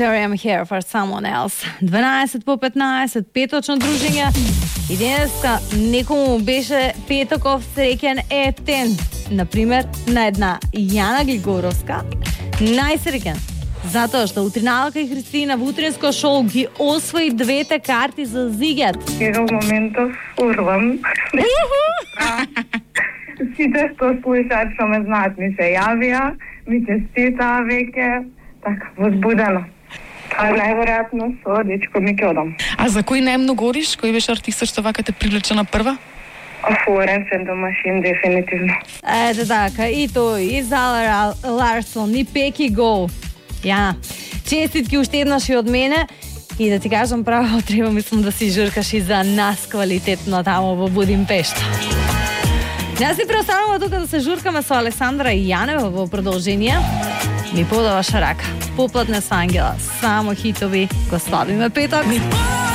Sorry I'm here for someone else. 12 по 15, петочно дружење. И денеска некому беше петоков среќен ептен. Например, на една Јана Глигоровска, најсреќен. Затоа што утриналка и Христина во утринско шоу ги освои двете карти за зигјат. Еве моментов урвам. Сите што слушаат, што ме знаат, ми се јавија, ми честитаа веќе, така, возбудено. А најверојатно со дечко ми ќе одам. А за кој најмногу ориш? Кој беше артистот што вака те привлече на прва? Флоренс енд зе Машин, дефинитивно. Ете така, и тој, и Зала Ларсон, и Пеки Го. Јана, честитки уште еднаш и од мене. И да ти кажам право, треба мислам да си журкаш и за нас квалитетно тамо во Будимпешта. Јас си преостанува тука да се журкаме со Алесандра и Јанева во продолжение. Ми подаваш рака. Поплатне с ангела. Само хитови. Го славиме петок.